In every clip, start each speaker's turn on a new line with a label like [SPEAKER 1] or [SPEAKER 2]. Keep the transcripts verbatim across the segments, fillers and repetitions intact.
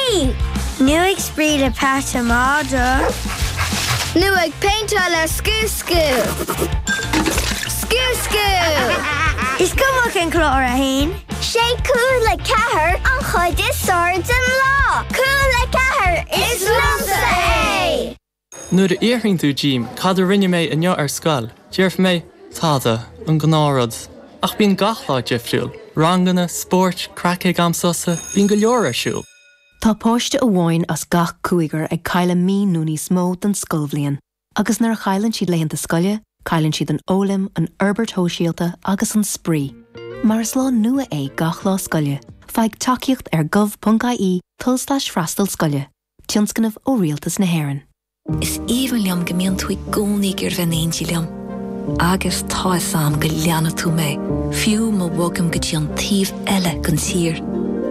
[SPEAKER 1] spraoi! Nó ag spraoi le peata madra. Nó ag péinteáil le Scú Scú. Scú Scú! Is cuma cén clár a haon. Sé cúl le ceathair an chuid is fearr den lá. Cúl le ceathair is liomsa é!
[SPEAKER 2] Nuair a fhiafraíonn tú díom cad a rinne mé inniu ar scoil, déarfaidh mé tada an gnáthrud. Ach bíonn gach lá difriúil, ranganna, spóirt, craic ag am sosa, bíonn go leor ar siúl.
[SPEAKER 3] Tá páiste amháin as gach cúigear ag cailleadh mí nó níos mó den scoilbhliain, agus nuair a chailleann siad laethanta scoile, cailleann siad an fhoghlaim, an fhorbairt shóisialta agus an spraoi. Mar is lá nua é gach lá scoile, faigh tacaíocht ar gov.ie tulslais freastal scoile, tionscnamh ó Rialtas na hÉireann.
[SPEAKER 4] Is aoibhinn liom go mbíonn tú i gcónaí ag iarraidh bheith in éindí liom. Agus tá a fhios agam go leanfaidh tú mé, fiú má bhogaim go dtí an taobh eile den tír.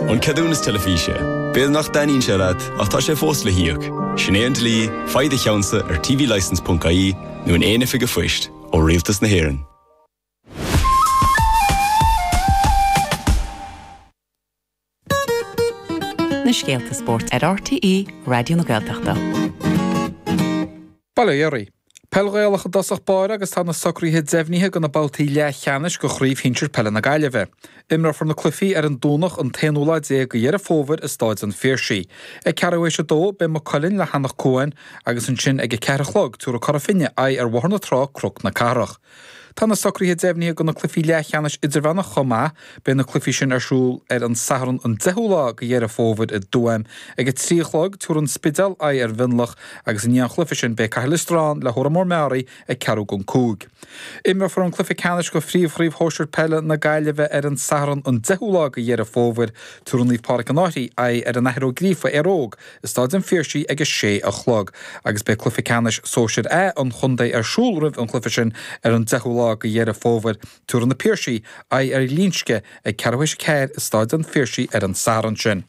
[SPEAKER 5] An ceadúnas teilifíse, B'fhéidir nach dtaitníonn sé leat ach tá sé fós le híoc. Sin é an dlí, faigh do cheannsa ar tvlicence.ie nó in aon oifig phoist ó Rialtas na hÉireann.
[SPEAKER 6] Na scéalta spóirt ar RTÉ Raidió na Gaeltachta.
[SPEAKER 7] Bail ó Dhia oraibh. Peil Ghaelach i dtosach báire agus tá na socruithe deimhnithe do na babhtaí leathcheannais de Chraobh Shinsir Peile na Gaillimhe. Imreofar na cluichí ar an Domhnach an t-aonú lá déag de Dheireadh Fómhair i Stáid an Phiarsaigh. Ag ceathrú théis a dó beidh Maigh Cuilinn le hAnach Cuain agus ansin ag a ceathair a chlog tabharfaidh Cora Finne aghaidh ar Bhóthar na Trá Cnoc na Cathrach. Tá na socruithe deimhnithe do na cluichí leathcheannais idirmheánach chomh maith. Beidh na cluichí sin ar siúl ar an Satharn an deichiú lá de Dheireadh Fómhair i dTuaim. Ag a trí a chlog, tabharfaidh an Spidéal aghaidh ar Mhionlach agus i ndiaidh an chluiche sin beidh Cathair Loistreáin le hÓra Mór Meáraí ag ceathrú don cúig. Imreofar an cluiche ceannais de Phríomhchraobh Shóisir Peile na Gaillimhe ar an Satharn an deichiú lá de Dheireadh Fómhair. Tabharfaidh Naomh Pádraig an Fhairche aghaidh ar an Athair Ó Gríofa, Éire Óg, i Stáid an Phiarsaigh ag a sé a chlog agus beidh cluiche ceannais Sóisir A an chontae ar siúl roimh an chluiche sin ar an deichiú lá de Dheireadh Fómhair. Tabharfaidh Na Piarsaigh aghaidh ar Ghlinsce ag ceathrú théis a ceathair i Stáid an Phiarsaigh ar an Satharn sin.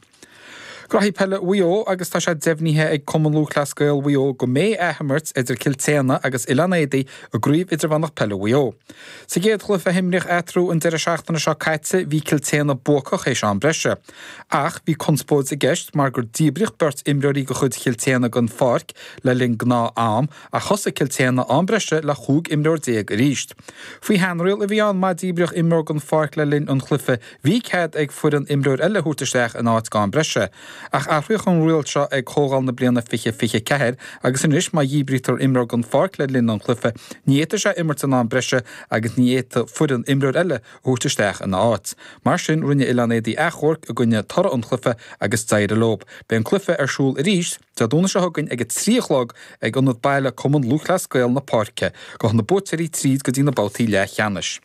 [SPEAKER 7] Graithí Peile Mhaigh Eo agus tá sé deimhnithe ag Cumann Lúthchleas Gael Mhaigh Eo go mbeidh athimirt idir Cill tSéadhna agus Oileán Éadaí i gCraobh Idirmheánach Peile Mhaigh Eo. Sa gcéad chluiche a himríodh eatarthu an deireadh seachtaine seo caite bhí Cill tSéadhna buacach théis am breise. Ach bhí conspóid i gceist mar gur díbríodh beirt imreoirí de chuid Chill tSéadhna den pháirc le linn gnáth am ach thosaigh Cill tSéadhna am breise le chúig imreoir déag arís. Faoi sheanriail a bhí ann má díbríodh imreoir den pháirc le linn an chluiche bhí cead ag foireann imreoir eile a thabhairt isteach ina áit go am breise. Ach athraíodh an riail seo ag comhdháil na bliana fiche fiche ceathair agus anois má dhíbrítear imreoir den pháirc le linn an chluiche ní fhéadfaidh sé imirt in am breise agus ní fhéadfaidh foireann imreoir eile a thabhairt isteach ina áit. Mar sin rinne Oileán Éadaí achomharc i gcoinne toradh an chluiche agus d'éirigh leo. Beidh an cluiche ar siúl arís Dé Domhnaigh seo chugainn ag a trí a chlog ag Ionad Baile Cumann Lúthchleas Gael na Páirce. Gabhfaidh na buaiteoirí tríd go dtí na babhtaí leathcheannais.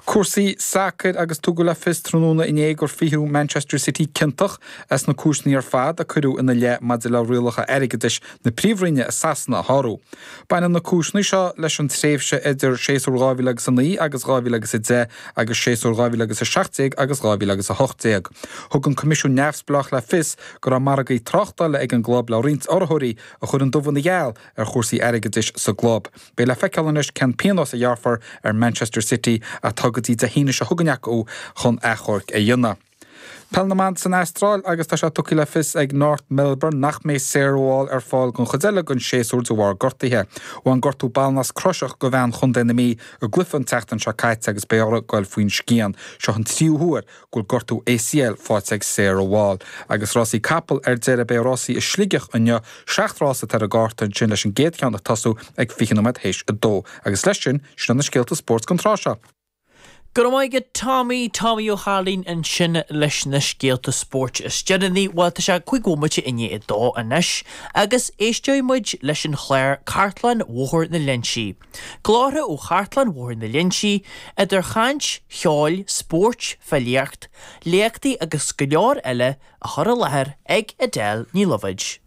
[SPEAKER 7] Cúrsaí sacair agus tugadh le fios tráthnóna inné gur frítheadh Manchester City ciontach as na cúiseanna ar fad a cuireadh ina leith maidir le rialacha airgeadais na Príomhroinne i Sasana a shárú. Baineann na cúiseanna seo leis an tréimhse idir séasúr dhá mhíle agus a naoi agus dhá mhíle agus a deich agus séasúr dhá mhíle agus a seacht déag agus dhá mhíle agus a hocht déag. Thug an Coimisiún Neamhspleách le fios go raibh margaí tráchtála ag an gclub le roinnt urraitheoirí a chuir an dubh ina gheal ar chúrsaí airgeadais sa gclub. Beidh le feiceáil anois cén pionós a ghearrfar ar Manchester City ach tá go dtí Dé hAoine seo chugainn acu chun achomharc a dhéanamh. Peil na mBan san Astráil agus tá sé tugtha le fios ag North Melbourne nach mbeidh Sarah Wall ar fáil don chuid eile den séasúr de bharr gortaithe. Bhain gortú ballnasc croiseach do bhean Chontae na Mí i gcluiche an tseachtain seo caite agus beidh orthu goil faoin scian. Seo an tríú huair go bhfuil gortú ACL faighte ag Sarah Wall. Agus rásaí capall ar deireadh beidh rásaí i Sligeach inniu, seacht rás atá ar an gcárta ansin leis an gcéad cheann ag tosú ag fiche nóiméad théis a dó. Agus leis sin, sin iad na scéalta spóirt don tráth seo.
[SPEAKER 8] Go raibh maith agat Tommy, Tommy Ó hAilín ansin leis na scéalta spóirt is deireanaí. Bhuel, tá sé cúig bhomaite i ndiaidh a dó anois agus éisteoidh muid leis an chlár Cartlann Bhóthar na Léinsí. Glórtha ó Chartlann Bhóthar na Léinsí, idir chaint, cheol, spóirt, filíocht, léachtaí agus go leor eile á chur i láthair ag Edel Ní Loibhéid.